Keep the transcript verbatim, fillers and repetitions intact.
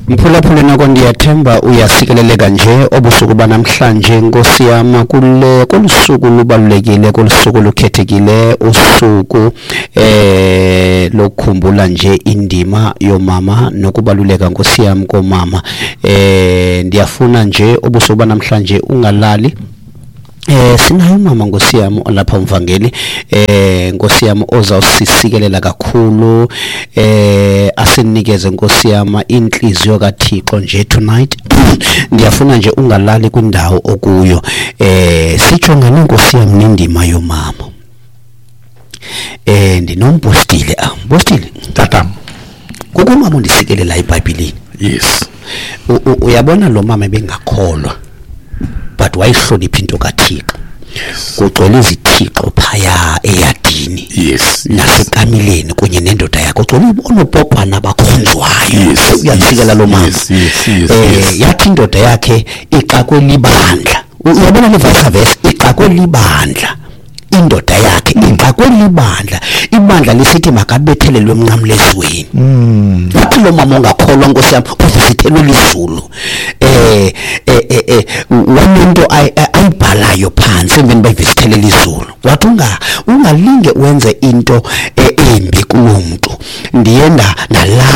Mphulaphuli, noko ndiyathemba uyasikeleleka nje obusuku banamhlanje, nkosi yam, kule kolu suku lubalulekile, kolu suku lukhethekile, usuku eh lokukhumbula nje indima yomama nokubaluleka, nkosi yam, komama. eh ndiyafuna nje obusuku banamhlanje ungalali. Eh sinayo umama, nkosi yam, olapha, umvangeli, eh nkosi yam, ozawusisikelela kakhulu, eh asinikeze, nkosi yam, inhliziyo kaThixo nje tonight. Ndiyafuna nje ungalali kwindawo okuyo. eh sijongane, nkosi yam, nendima yomama. eh ndinompostile, ah mpostile. Tata. Kukho umama ondisikelela eBhayibhelini. Yes. Uyabona, lo mama ebengakholwa, but wayihlonipha into kaThixo. Kugcwele izithixo phaya eyadini yes nasekamileni kunye nendoda yakho, kugcwele oonopopana abakhonzwayo. Yes, Uyasikela lo mama. yes, yes, yes, eh yes. Yathi indoda yakhe ixakwe libandla. Uyabona le verse verse ixakwe libandla, indoda yakhe ixakwe libandla, ibandla lisithi makabethelelwe emnqamlezweni. Wathi lo mama ongakholwa, nkosi yam, uvisithelwe lizulu. eh eh eh, eh wanento ayibhalayo phansi emveni bayivisithele izulu. Wathi unga ungalinge wenze into eh, embi kulo muntu. Ndiye nda ndala